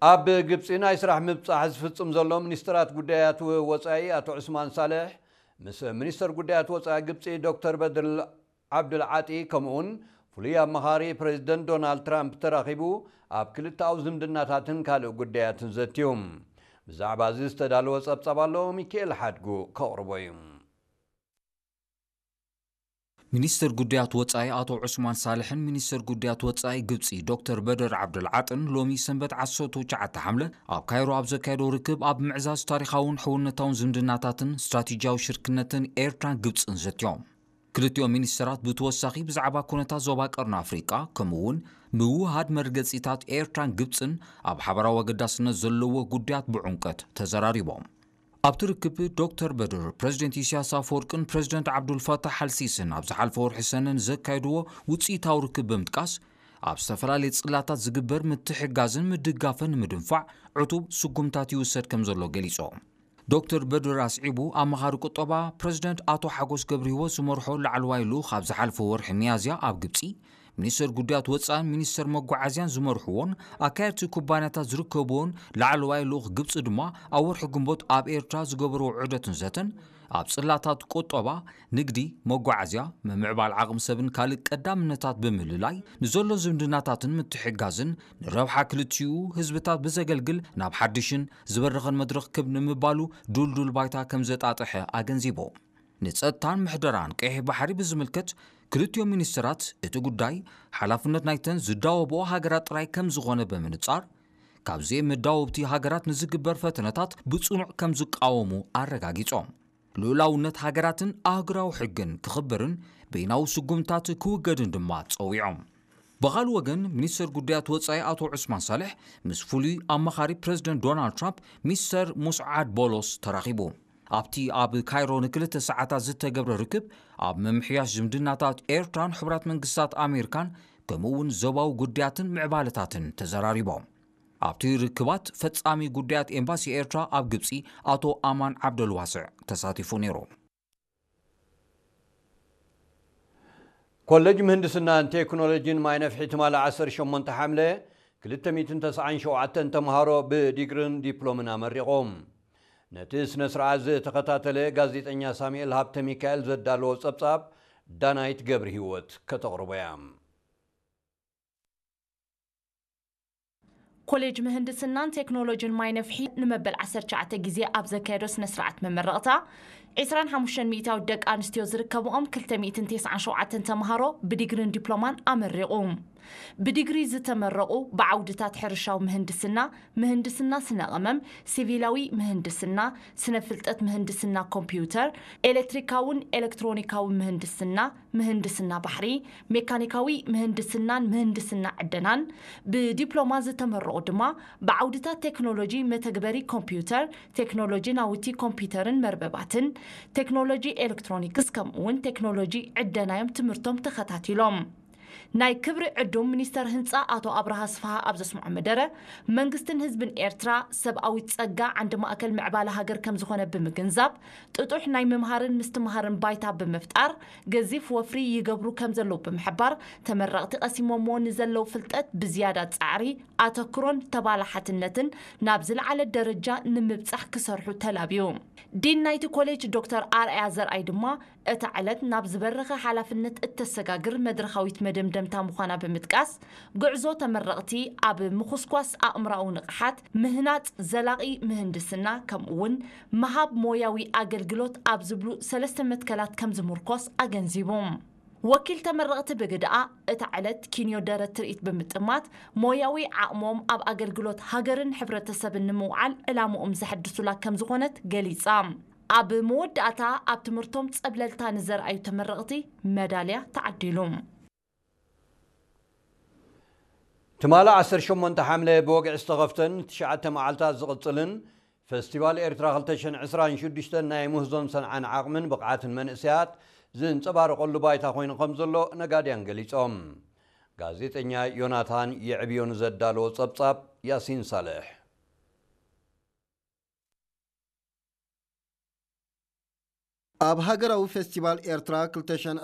ኣብ ግብጺ ናይ ስራሕ ምብጻሕ ዝፍጽም ዘሎ ሚኒስትራት ጉዳያት ወጻኢ ኣቶ ዑስማን ሳልሕ ምስ ሚኒስተር ጉዳያት ወጻኢ ግብጺ ዶክተር በድር ዓብዱል ዓጢ ከምኡውን ፍሉይ ኣማኻሪ ፕሬዚደንት ዶናልድ ትራምፕ ተራኺቡ ኣብ ክልተኣዊ ዝምድናታትን ካልእ ጉዳያትን ዘትዮም። ብዛዕባ እዚ ዝተዳለወ ጸብጻብ ኣሎ፣ ሚካኤል ሓድጉ ከቕርቦ እዩ። ሚኒስትር ጉዳያት ወጻኢ ኣቶ ዑስማን ሳልሕን ሚኒስትር ጉዳያት ወጻኢ ግብጺ ዶክተር በደር ዓብደልዓጥን ሎሚ ሰንበት ዓሰርተ ትሽዓተ ሓምለ ኣብ ካይሮ ኣብ ዘካየዶ ርክብ ኣብ ምዕዛዝ ታሪኻውን ሕውነታውን ዝምድናታትን ስትራቴጂያዊ ሽርክነትን ኤርትራን ግብጽን ዘትዮም። ክልቲኦም ሚኒስትራት ብተወሳኺ ብዛዕባ ኩነታት ዞባ ቀርኒ ኣፍሪቃ ከምኡ እውን ምውህሃድ መርገጺታት ኤርትራን ግብጽን ኣብ ሓበራዊ ኣገዳስነት ዘለዎ ጉዳያት ብዕምቀት ተዘራሪቦም። ኣብቲ ርክብ ዶክተር በድር ፕረዚደንት ኢሳያስ ኣፈወርቅን ፕረዚደንት ዓብዱልፋታሕ ኣልሲስን ኣብ ዝሓለፈ ወርሒ ሰነ ንዘካየድዎ ውፅኢታዊ ርክብ ብምጥቃስ ኣብ ዝተፈላለየ ፅላታት ዝግበር ምትሕጋዝን ምድጋፍን ንምድንፋዕ ዕቱብ ስጉምታት ይውሰድ ከም ዘሎ ገሊፆም። ዶክተር በድር ኣስዒቡ ኣማኻሪ ቁጠባ ፕረዚደንት ኣቶ ሓጎስ ገብረሂወት ዝመርሖ ላዕለዋይ ልኡኽ ኣብ ዝሓለፈ ወርሒ ሚያዝያ ኣብ ግብፂ ሚኒስተር ጉዳያት ወፃእን ሚኒስተር መጓዓዝያን ዝመርሕዎን ኣካየድቲ ኩባንያታት ዝርከብዎን ላዕለዋይ ልኡኽ ግብፂ ድማ ኣብ ወርሒ ግንቦት ኣብ ኤርትራ ዝገበርዎ ዑደትን ዘተን ኣብ ፅላታት ቁጠባ፣ ንግዲ፣ መጓዓዝያ፣ ምምዕባል ዓቕሚ ሰብን ካልእ ቀዳምነታት ብምልላይ ንዘሎ ዝምድናታትን ምትሕግጋዝን ንረብሓ ክልቲኡ ህዝብታት ብዘገልግል ናብ ሓድሽን ዝበረኸን መድረኽ ክብ ንምባሉ ዱልዱል ባይታ ከም ዘጣጠሐ ኣገንዚቦም። ንጸጥታን ምሕደራን ቀይሕ ባሕሪ ብዝምልከት ክልቲኦም ሚኒስትራት እቲ ጉዳይ ሓላፍነት ናይተን ዝዳወብኦ ሃገራት ጥራይ ከም ዝኾነ ብምንጻር ካብዘይ መዳወብቲ ሃገራት ንዝግበር ፈተነታት ብጽኑዕ ከም ዝቃወሙ ኣረጋጊጾም። ልኡላውነት ሃገራትን ኣህጉራዊ ሕግን ክኽበርን በይናዊ ስጉምታት ክውገድን ድማ ጸዊዖም። ብኻልእ ወገን ሚኒስትር ጉዳያት ወጻኢ ኣቶ ዑስማን ሳልሕ ምስ ፍሉይ ኣማኻሪ ፕረዚደንት ዶናልድ ትራምፕ ሚስተር ሙስዓድ ቦሎስ ተራኺቡ። ኣብቲ ኣብ ካይሮ ንክልተ ሰዓታት ዝተገብረ ርክብ ኣብ ምምሕያሽ ዝምድናታት ኤርትራን ሕቡራት መንግስታት ኣሜሪካን ከምኡ እውን ዞባዊ ጉዳያትን ምዕባለታትን ተዘራሪቦም። ኣብቲ ርክባት ፈጻሚ ጉዳያት ኤምባሲ ኤርትራ ኣብ ግብጺ ኣቶ ኣማን ዓብደልዋስዕ ተሳቲፉ ነይሩ። ኮሌጅ ምህንድስናን ቴክኖሎጂን ማይ ነፍሒ ትማሊ ዓሰርተ ሸሞንተ ሓምለ ክልተ ሚእትን ተስዓን ሸውዓተን ተምሃሮ ብዲግርን ዲፕሎምን ኣመሪቖም። ነቲ ስነ ስርዓት ዝተኸታተለ ጋዜጠኛ ሳሙኤል ሃብተ ሚካኤል ዘዳለዎ ጸብጻብ ዳናይት ገብረ ህይወት ከተቕርቦ እያ። ኮሌጅ ምህንድስናን ቴክኖሎጂን ማይ ነፍሒ ንመበል ዓሰርተ ትሽዓተ ግዜ ኣብ ዘካየዶ ስነ ስርዓት መመረቕታ ዕስራን ሓሙሽተን ሚእታዊት ደቂ ኣንስትዮ ዝርከብኦም ክልተ ሚእትን ተስዓን ሸውዓተን ተምሃሮ ብዲግሪን ዲፕሎማን ኣመሪቑ። ብዲግሪ ዝተመረቑ ብዓውድታት ሕርሻዊ ምህንድስና፣ ምህንድስና ስነ ቀመም፣ ሲቪላዊ ምህንድስና፣ ስነ ፍልጠት ምህንድስና ኮምፒውተር፣ ኤሌክትሪካውን ኤሌክትሮኒካዊ ምህንድስና፣ ምህንድስና ባሕሪ፣ ሜካኒካዊ ምህንድስናን ምህንድስና ዕደናን፣ ብዲፕሎማ ዝተመረቑ ድማ ብዓውድታት ቴክኖሎጂ መተግበሪ ኮምፒውተር፣ ቴክኖሎጂ ናውቲ ኮምፒውተርን መርበባትን፣ ቴክኖሎጂ ኤሌክትሮኒክስ ከምኡውን ቴክኖሎጂ ዕደና እዮም ትምህርቶም ተኸታቲሎም። ናይ ክብሪ ዕዱም ሚኒስተር ህንፃ ኣቶ ኣብርሃ ስፍሃ ኣብ ዘስምዖ መደረ፣ መንግስትን ህዝብን ኤርትራ ሰብኣዊ ጸጋ ዓንዲ ማእከል ምዕባለ ሃገር ከም ዝኾነ ብምግንዛብ፣ ጥጡሕ ናይ ምምሃርን ምስትምሃርን ባይታ ብምፍጣር ገዚፍ ወፍሪ ይገብሩ ከም ዘለዉ ብምሕባር፣ ተመረቕቲ ቀሲሞምዎ ንዘለዉ ፍልጠት ብዝያዳ ጻዕሪ፣ ኣተኩሮን ተባላሓትነትን ናብ ዝለዓለ ደረጃ ንምብጻሕ ክሰርሑ ተላብዩ። ዲን ናይቲ ኮሌጅ ዶክተር ኣርኣያ ዘርኣይ ድማ፣ እታ ዕለት ናብ ዝበረኸ ሓላፍነት እተሰጋግር መድረኻዊት መደምደምታ ምዃና ብምጥቃስ፣ ጉዕዞ ተመረቕቲ ኣብ ምኹስኳስ ኣእምሮኣዊ ንቕሓት፣ ምህናጽ ዘላቒ ምህንድስና፣ ከምኡ'ውን ምሃብ ሞያዊ ኣገልግሎት ኣብ ዝብሉ ሰለስተ መትከላት ከም ዝምርኮስ ኣገንዚቡ። ወኪል ተመረቕቲ ብግደኣ፣ እታ ዕለት ኪንዮ ደረት ትርኢት ብምጥማት፣ ሞያዊ ዓቕሞም ኣብ ኣገልግሎት ሃገርን ሕብረተሰብን ንምውዓል ዕላምኦም ዘሐድሱላ ከም ዝኾነት ገሊጻ። ኣብ መወዳእታ ኣብ ትምህርቶም ጸብለልታ ንዘርኣዩ ተመረቕቲ መዳልያ ተዓዲሉ። ትማሊ ዓሰርተ ሸሞንተ ሓምለ ብወግዒ ዝተኸፍተን ትሽዓተ መዓልታት ዝቕጽልን ፈስቲቫል ኤርትራ ክልተ ሽሕን ዕስራን ሽዱሽተን ናይ ምህዞን ሰንዓን ዓቕምን ብቕዓትን መንእሰያት ዝንጸባረቐሉ ባይታ ኮይኑ ከም ዘሎ ነጋድያን ገሊጾም። ጋዜጠኛ ዮናታን የዕብዮ ንዘዳለዎ ጸብጻብ ያሲን ሳልሕ። ኣብ ሃገራዊ ፌስቲቫል ኤርትራ ክልተ ሽሕን